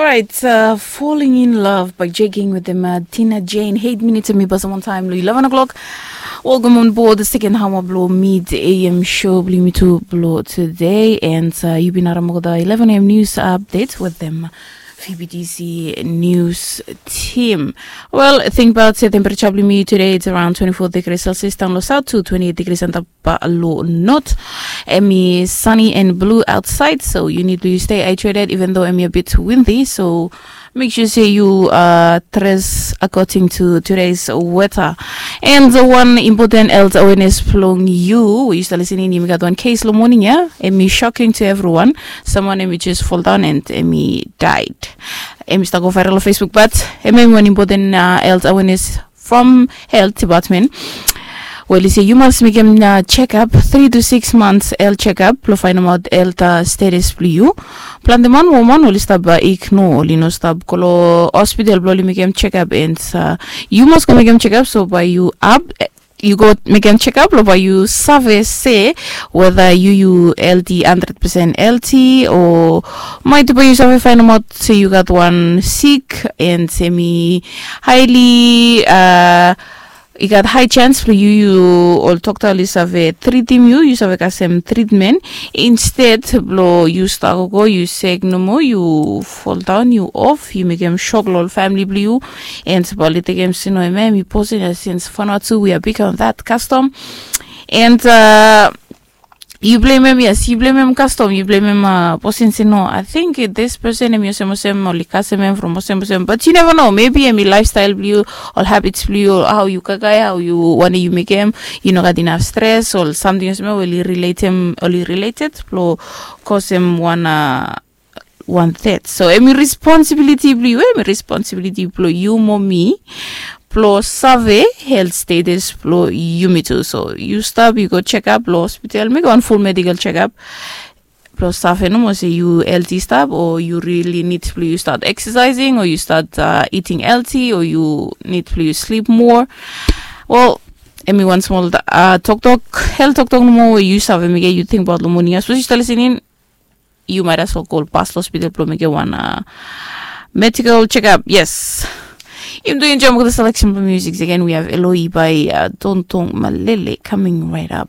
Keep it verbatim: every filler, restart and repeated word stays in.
Alright, uh, Falling in Love by Jay King with them, uh, Tina Jane. Eight minutes and mi pasam on time lo eleven o'clock. Welcome on board the second hour blo mid A M show blo mi tu blo today. And uh, you've been around the eleven A M news update with them. F B T C news team. Well, think about se temperature blo mi today, it's around twenty-four degrees Celsius down lo south to twenty-eight degrees and up lo north. Emi sunny and blue outside, so you need to stay hydrated even though emi a bit windy. So make sure say you uh, dress according to today's weather. And the one important health awareness blong you, we used to listen in, you got one case lo morning, yeah? Emi shocking to everyone. Someone emi just fall down and emi died. Emi start go viral on Facebook, but emi one important uh, health awareness from health department. Well, you say you must make him uh, check up three to six months health check up lo find out health uh, status blo you. Planti man woman oli stap uh, ignore, oli no stap go lo hospital blo oli make him check up, and uh, you must go make him check up. So by you up, you go make him check up lo by you save se whether you you healthy hundred percent healthy or might by you save find out se you got one sick and semi highly uh, you got high chance for you you ol dokta oli save tritim you, you save kasem treatment. Instead blo you start go you sick nomo, you fall down, you off, you make him shock lo ol family blo you. And bali tekem sino eme mi posin ya since fana tu we are big on that custom. And uh, you blame him, yes, you blame him custom, you blame him uh, posin sino. I think this person him yosem osem oli kasem him from osem osem, but you never know, maybe him lifestyle blo you, all habits blo you, how you kakai, how you want you make him, you know, got enough stress or something osem oli relate him, oli related blo cause him one uh, one third. So emi responsibility blo you, emi responsibility blo you mo mi blo save health status blo yumi tu. So you stop, you go check up lo hospital, make one full medical check up blo save nomo se you healthy stop or you really need blo you start exercising or you start uh, eating healthy or you need blo you sleep more. Well, emi one small uh, talk talk, health talk talk nomo we you save make you think about lo morning. As you start listening, you might as well call past hospital blo make one uh, medical check up. Yes. Im do enjoy mo the selection of music again. We have Eloi by uh, Tontong Malele coming right up.